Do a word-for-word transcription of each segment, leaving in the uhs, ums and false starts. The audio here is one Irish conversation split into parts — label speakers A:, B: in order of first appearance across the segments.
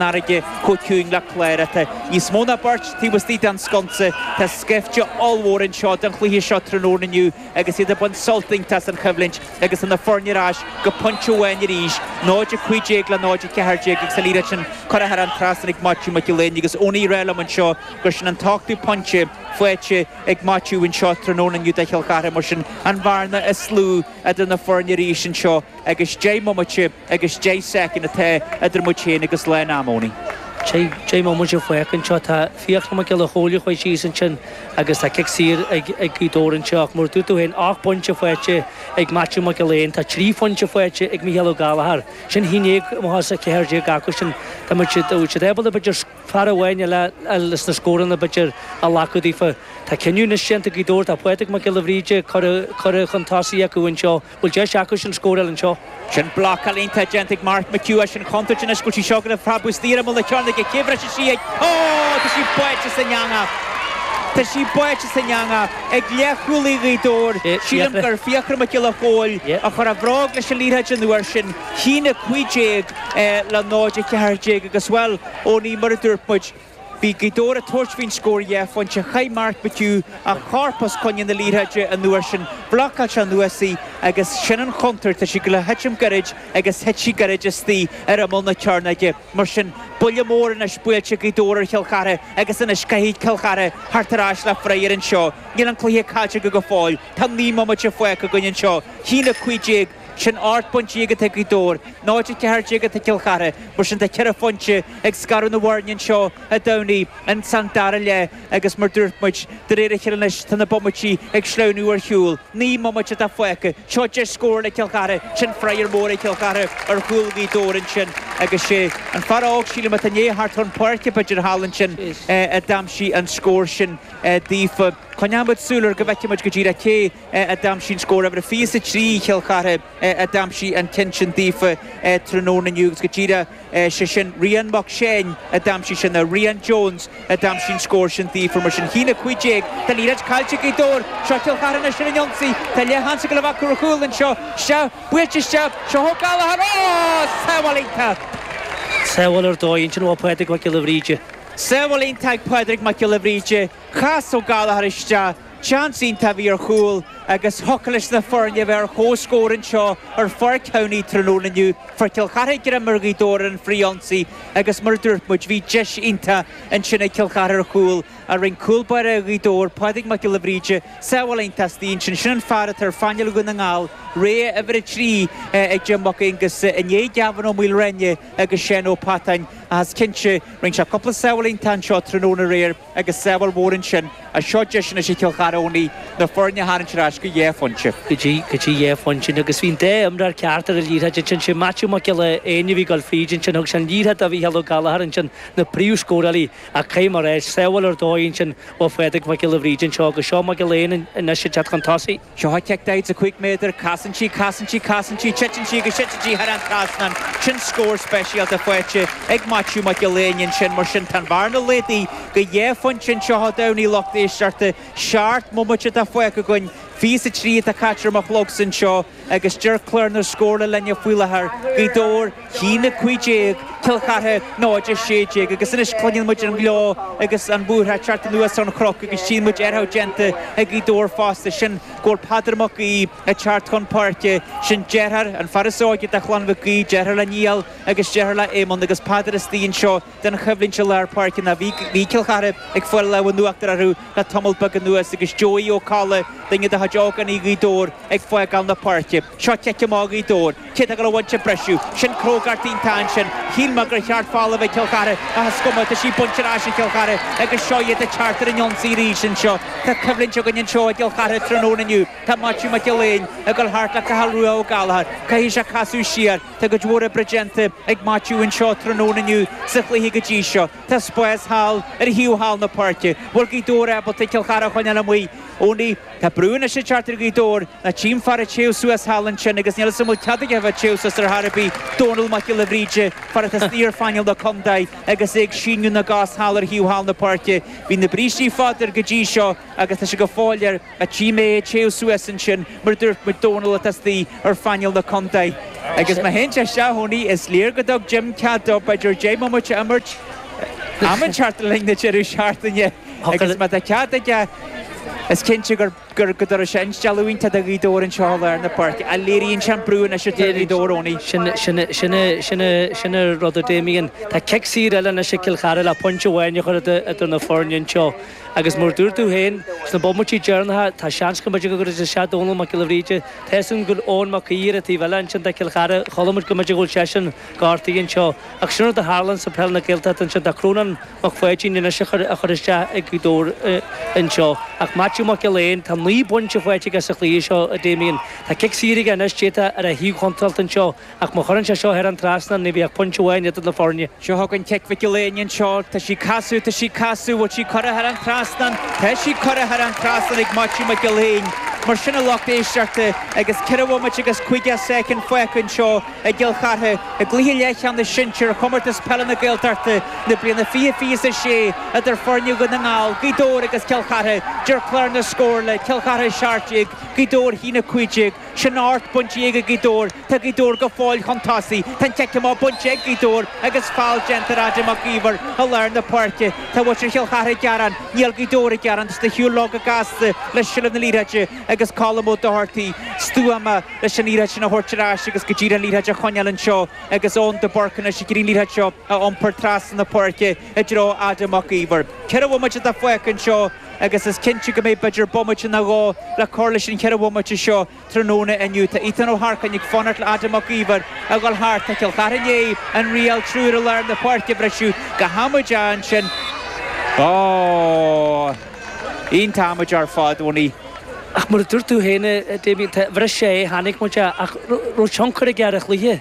A: fharraige chomh ciúin le cléire. Tá níos mó ná beirt taobh istigh den sconsa. Tá scaifte ollmhór anseo don chluiche seo tráthnóna inniu agus iad ag baint sult iontach as an choimhlint agus na foirne ar ais go pointe amháin arís, náid a cúig déag le náid a ceathair déag agus an liathróid sin curtha thar an trasnán ag Maitiú Mac Giolla Éin agus Owenie ag rá liom anseo gur sin an t-ochtú pointe faighte ag Maitiú anseo tráthnóna inniu do Chill Chartha mar sin an bhearna is lú idir na foirne arís anseo agus deich mbomaite agus deich soicind atá idir muid féin agus lán ama, Owenie.
B: Deich mbomaite fágtha anseo tá Fiachra Mac Giolla Chóill chuaigh síos ansin agus tá cic saor ag ag Gaoth Dobhair anseo ach mar a dúirt tú féin ocht bpointe faighte ag Maitiú Mac Giolla Éin tá trí phointe faighte ag Mícheál Ó Gallchóir sin haon déag amach as a ceathair déag acu sin tá muid siad siad ábalta b'fhéidir fear amháin eile leis na scóranna b'fhéidir a ghlacadh daofa. Tá cinneadh anois déanta ag Gaoth Dobhair tá Pádraig Mac Giolla Bhríde curtha chun tosaigh acu anseo bhfuil deis acu sin scóráil anseo.
A: Sin blocáil iontach déanta ag Mark McHugh sin contúirt anois go bhfuil sí seo go preabadh istigh ar imeall na cearnóige cé bhrisfidh sí ag Ó tá sí báite san eangach. Tá sí báite san eangach ag leathchúlaí Ghaoth Dobhair. Sílim gur Fiachra Mac Giolla Chóill a chuir a bhróg leis an liathróid an uair sin haon a cúig déag le náid a ceathair déag agus bhuel Owenie mar a dúirt muid. Bhí Gaoth Dobhair ag tabhairt faoin scór dhá phointe chaith Mark McHugh a chorp os coinne na liathróide an uair sin bhlocáil sé anuas í agus sin an chontúirt tá sí le titim gairid agus thit sí gairid istigh ar imeall na cearnóige mar sin buille mór anois buailte Gaoth Dobhair ar Chill Chartha agus anois caithfidh Cill Chartha theacht ar ais le frith anseo. Níl an cluiche caillte go go fóill Tá naoi mbomaite fágtha againn anseo haon a cúig déag sin ocht bpointe atá ag Gaoth Dobhair, náid a ceathair déag atá Cill Chartha, mar sin tá ceithre phointe ag scaradh na bhfoirne anseo a Domhnaigh an san dara leath agus mar dúirt muid de réir a chéile anois tá na bomaití ag sleamhnú ar shiúl. Naoi mbomaite atá fágtha, seo deis scór le Cill Chartha, sin frith mór ag Cill Chartha ar chúl Ghaoth Dobhair ansin agus sé an fear óg sílim atá né thart chun páirce b'fhéidir thall ansin a d'aimsigh an scór sin daofa. Coinneoidh muid súil air go bhfeicfidh muid go díreach cé a d'aimsigh an scór uimhir fiche a trí Chill Chartha a d'aimsigh an ceann sin daofa tráthnóna inniu agus go díreach sé sin Rian Mac Séin a d'aimsigh sin a Rian Jones a d'aimsigh an scór sin daofa mar sin haon a cúig déag Tá liathróid caillte Gaoth Dobhair seo Cill Chartha anois ar an ionsaí Tá leathsheans go le bheith ar chúl anseo se buailte isteach seo Ó Gallchóir ó sábháil iontach.
B: Sábháil ar dóigh ansin ó Pádraig Mac Giolla Bhríde.
A: Sábháil iontach ag Pádraig Mac Giolla Bhríde, chas Ó Gallchóir isteach, seans iontach a bhí ar chúl agus thiocfadh leis na foirne bheith ar chomhscór anseo ar Pháirc Thamhnaigh tráthnóna inniu. Fuair Cill Chartha greim ar Ghaoth Dobhair ar an frith-ionsaí agus mar a dúirt muid bhí deis iontach ansin ag Cill Chartha ar chúl a rinne cúl báire Ghaoth Dobhair, Pádraig Mac Giolla Bhríde, sábháil iontach istigh ansin sin an fear atá ar phainéal Dhún na nGall, rogha uimhir a trí ag Jim Mac Aonghus i ndiaidh Gavin Ó Maoilreine agus Seán Ó Patáin as cinnte rinne sé cúpla sábháil iontach anseo tráthnóna aréir agus sábháil mhór ansin a seo deis anois ag Cill Chartha Owenie na foirne a tharraingt ar ais go dhá phointe.
B: Go dtí go dtí dhá phointe agus bhí an dá imreoir ceart ar an liathróid ansin sé Matthew Mac Giolla Éin a bhí ag dul fríd ansin thug sé an liathróid do Mhícheál Ó Gallchóir ansin na príomhscórálaí ach caithfidh mé a rá sábháil ar dóigh ansin ó Phádraig Mac Giolla Bhríde anseo agus seo Mac Giolla Éin anois ag teacht chun tosaigh.
A: Seo cic daichead a cúig méadar, casann sí, casann sí, casann sí, titeann sí agus titeann sí thar an trasnán sin scór speisialta faighte ag Matthew Mac Giolla Éin ansin mar sin tá an bhearna laghdaithe go dhá phointe anseo a Domhnaigh lucht éisteachta seacht mbomaite atá fágtha againn fiche a trí atá caite ar mo chlogsa anseo agus deir clár na scórála linne faoi láthair Gaoth Dobhair haon a cúig déag Cill Chartha náid a sé déag agus anois cluineann muid an gleo agus an búrtha teacht anuas ón chnoc agus tchíonn muid aertha déanta ag Gaoth Dobhair fosta sin go bhfuil Peadar Mac Aoidh ag teacht chun páirce sin deartháir an fear is óige de chlann Mhic Aoidh deartháir le Niall agus deartháir le Éamonn agus Peadar istigh anseo den choimhlint i lár páirce ná bhí bhí Cill Chartha ag fáil lámh in uachtar orthu le tamall beag anuas agus Joey Ó Colla duine de chuid ógánaigh Ghaoth Dobhair ag fágáil na páirce. Seo cic amach Ghaoth Dobhair, cé atá ag dul a bhaint an briseadh, sin crógacht iontach ansin, shíl mé gur cheart foul a bheith Cill Chartha ach is cuma tá sí bainte ar ais ag Cill Chartha agus seo iad ag teacht ar an ionsaí arís anseo. Tá coimhlint againn anseo i gCill Chartha tráthnóna inniu. Tá Maitiú Mac Giolla Éin ag dul thart le Cathal Rua Ó Gallchóir. Caithfidh sé casadh siar. Tá cuid mhór oibre déanta ag Maitiú anseo tráthnóna inniu sa chluiche go dtí seo. Tá spás thall ar thaobh thall na páirce. Bhfuil Gaoth Dobhair ábalta Cill Chartha a choinneáil amuigh. Owenie, tá brú anois ag teacht ar Ghaoth Dobhair, ná tchím fear ag téamh suas thall ansin agus níl 'fhios a'm an bhfuil cead aige a bheith ag téamh suas ar chor ar bith, Dónal Mac Giolla Bhríde, fear atá istigh ar phainéal na contae agus é ag síneadh na gcos thall ar thaobh thall na páirce. Bhí na brístí fada air go dtí seo agus tá sé go fóill air ach tchím é ag téamh suas ansin mar a dúirt muid Dónal atá istigh ar phainéal na contae. Agus má théann sé isteach Owenie, is léir go dtug Jim cead dó b'fhéidir deich mbomaite a imirt am inteacht le linn na deireadh seachtaine agus má tá cead aige is cinnte gur gur go dtabharfaidh sé instealladh iontach do Ghaoth Dobhair anseo i lár na páirce. A léiríonn sé an brú anois atá ar Ghaoth Dobhair Owenie.
B: Sin sin sin sin sin an rud a Damien. Tá cic saor eile anois ag Cill Chartha le pointe amháin a chur idir na foirne anseo. Agus mar dúirt tú féin sna bomaití deireanacha tá seans go mb'fhéidir go gcuirfidh isteach Dónal Mac Giolla Bhríde. Tá a fhios agam go bhfuil Eoin Mac Aoidh ar an taobh eile ansin de Chill Chartha. Chuala muid go mb'fhéidir go bhfuil seisean gortaithe anseo. Ach sin rud a tharlaíonn sa peil na Gaeltachta ansin. Tá Crónán Mac Pháidín anois a chur a chur isteach ag Gaoth Dobhair anseo. Ach Maitiú Mac Gill-Eain, tá naoi bpointe faighte aige sa chluiche seo a Damien. Tá cic saor aige anois déanta ar a thaobh chontráilte anseo. Ach má chuireann sé seo thar an trasnán ní bheadh pointe amháin idir na foirne.
A: Seo chugainn cic Mhic Gill Éain anseo. Tá sí casadh, tá sí casadh, bhfuil sí curtha thar an trasnán? Tá sí curtha thar an trasnán ag Maitiú Mac Gill Éain. Mar sin a lucht éisteachta agus ceithre bhomaite agus caoga soicind fágtha anseo i gCill Chartha i gcluiche leathcheannais sinsir Chomórtas Peile na Gaeltachta na bliana fiche fiche a sé idir foirne Dhún na nGall, Gaoth Dobhair agus Cill Chartha. Deir clár na scór le Cill Chartha seacht déag, Gaoth Dobhair a haon a cúig déag. Sin ocht bpointe déag ag Gaoth Dobhair. Tá Gaoth Dobhair go fóill chun tosaigh. Tá an cic amach bainte ag Gaoth Dobhair agus feall déanta ar Adam Mac Íomhair i lár na páirce. Tá muintir Chill Chartha ag gearán. Níl Gaoth Dobhair ag gearán. Tá siad ar shiúl leo go gasta le seilbh na liathróide agus Colm Ó Dochartaigh stuama leis an liathróid sin a thabhairt ar ais agus go díreach an liathróid a choinneáil anseo agus Eoin de Búrca anois ag iarraidh an liathróid seo a iompar trasna na páirce i dtreo Adam Mac Íomhair. Ceithre bhomaite atá fágtha anseo agus is cinnte go mbeidh b'fhéidir bomaite nó dhó le cur leis an cheithre bhomaite seo tráthnóna inniu. Tá Ethan Ó hEarcáin ag fanacht le Adam Mac Íomhair a dhul thart. Tá Cill Chartha i ndiaidh an riail triúr i lár na páirce a bhriseadh go hamaideach ansin. Ó! Iontach amaideach ar fad, Owenie.
B: Ach mar a dúirt tú féin, a Damien, tá, bhris sé é, chonaic muid é, ach raibh tionchar aige ar an chluiche?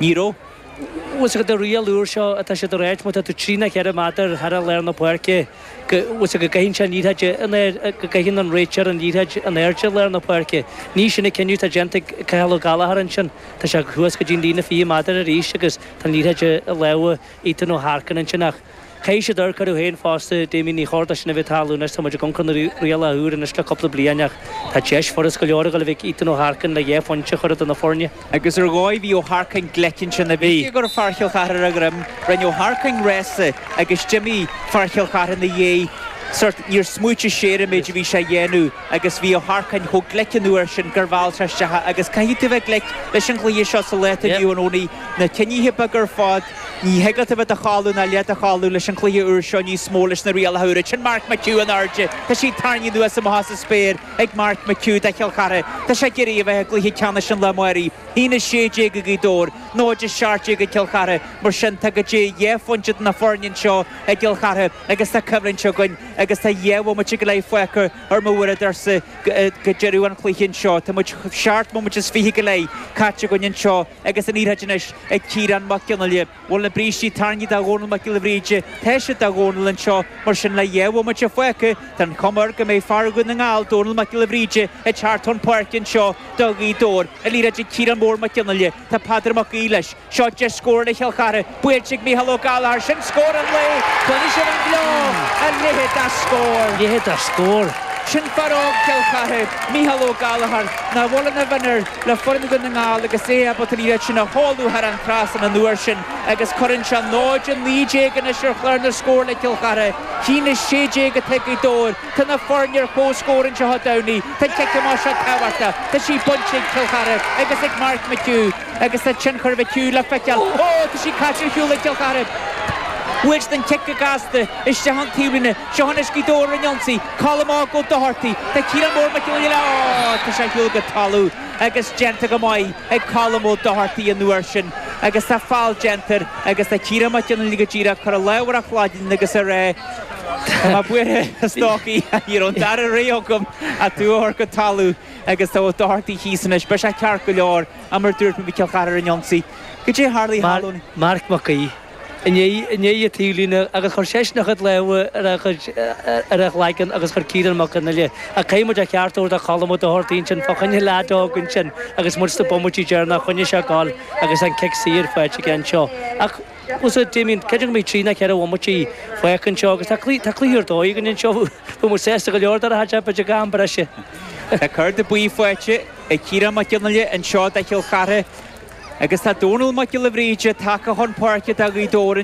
A: Ní raibh.
B: Bhfuil fhios agat an riail úr seo atá siad ag ráit, má tá tú trí nó ceithre méadar thar lár na páirce, go, bhfuil fhios agat, go gcaitheann sé an liathróid in air, go gcaitheann an réiteoir an liathróid in airde lár na páirce. Ní sin an cinneadh atá déanta ag Cathal Ó Gallchóir ansin. Tá sé thuas go dtí an líne fiche méadar arís agus tá an liathróid i lámha Ethan Ó hEarcáin ansin ach caithfidh siad amharc orthu féin fosta, Damien, ní chóir dó sin a bheith ag tarlú anois, tá muid ag amharc ar na rialacha úr anois le cúpla bliain ach tá deis furast go leor ag dul a bheith ag Ethan Ó hEarcáin le dhá phointe a chur idir na foirne.
A: Agus ar dhóigh bhí Ó hEarcáin glic ansin, bhí go raibh fear Chill Chartha ar a dhroim, rinne Ó hEarcáin rása agus d'imigh fear Chill Chartha ina dhiaidh. Sórt, níor smaoitigh sé ar an méid a bhí sé a dhéanamh agus bhí Ó hEarcáin chomh glic an uair sin gur mheall sé isteach é agus caithfidh tú bheith glic leis an chluiche seo sa lá atá inniu ann Owenie, na cinnithe beaga ar fad, ní thig leat a bheith i do chodladh ná leath de chodladh leis an chluiche úr seo níos mó leis na rialacha úra. Sin Mark McHugh in airde, tá sí tarraingthe anuas amach as an spéir ag Mark McHugh do Chill Chartha. Tá sé ag iarraidh a bheith i gcluiche ceannais an lá amáirigh. haon a sé déag ag Gaoth Dobhair, náid a seacht déag ag Cill Chartha. Mar sin, tá go dtí dhá phointe do na foirne anseo i gCill Chartha agus tá coimhlint againn agus tá dhá bhomaite go leith fágtha ar mo uaireadóirsa go deireadh an chluiche anseo. Tá muid seacht mbomaite is fiche go leith caite againn anseo agus an liathróid anois ag Ciarán Mac Fhionnghaile. Bhfuil na brístí tarraingthe do Dhónal Mac Giolla Bhríde? Tá siad do Dhónal anseo, mar sin le dhá bhomaite fágtha, tá an chuma air go mbeidh fear Dhún na nGall, Dónal Mac Giolla Bhríde, ag teacht chun páirce anseo do Ghaoth Dobhair. An liathróid ag Ciarán Mór Mac Fhionnghaile. Tá Peadar Mac Aoidh leis. Seo deis scórála Chill Chartha. Buailte ag Mícheál Ó Gallchóir. Sin scór an lae! Cluinfidh sibh an gleo! A leithéid de scór!
B: Leithéid de scór!
A: Sin fear óg Chill Chartha, Mícheál Ó Gallchóir, nach bhfuil ina mhionúr le foireann Dhún na nGall agus é ábalta an liathróid sin a sheoladh thar an trasnán an uair sin agus cuireann sé náid a naoi déag anois ar chlár na scór le Cill Chartha. Haon a sé déag atá ag Gaoth Dobhair. Tá na foirne ar comhscór anseo a Domhnaigh. Tá an cic amach seo tábhachtach. Tá sí bainte ag Cill Chartha agus ag Mark McHugh agus tá tionchar McHugh le feiceáil. Ó! Tá sí caite ar shiúl ag Cill Chartha. Bhuail siad an cic go gasta isteach ón taobhlíne. Seo anois Gaoth Dobhair ar an ionsaí. Colm Óg Ó Dochartaigh. Tá Ciarán Mór Mac Giolla. Ó! Tá sé ar shiúl go talamh agus déanta go maith ag Colm Ó Dochartaigh an uair sin agus tá feall déanta air agus tá Ciarán Mac Fhionnghaile go díreach ag cur a lámh ar a chlaigeann agus ag rá Tá mé buartha a stócaigh, ní raibh an dara rogha agam ach tú a chur go talamh agus tá Ó Dochartaigh thíos anois. Beidh sé ceart go leor, mar a dúirt mé, bhí Cill Chartha ar an ionsaí. Goidé a tharlaigh thall
B: Mark Mac Aoidh. i ndiaidh an taobhlíne agus chuir seisean a chuid lámha ar a chuid ar a chloigeann agus chuir Ciarán Mac Fhionnghaile ach caithfidh muid a cheart a thabhairt do Cholm Ó Dochartaigh ansin fá choinne leaid óg ansin agus muid sna bomaití deireanacha choinnigh sé ag gabháil agus an cic saor faighte aige anseo ach bhfuil Damien creidim go mbeidh trí nó ceithre bhomaite fágtha anseo agus tá tá cluiche ar dóigh againn anseo bhfuil muid sásta go leor dar a thaid b'fhéidir gan breise.
A: Tá cárta buí faighte ag Ciarán Mac Fhionnghaile anseo do Chill Chartha agus tá Dónal Mac Giolla Bhríde tagtha chun páirce do Ghaoth Dobhair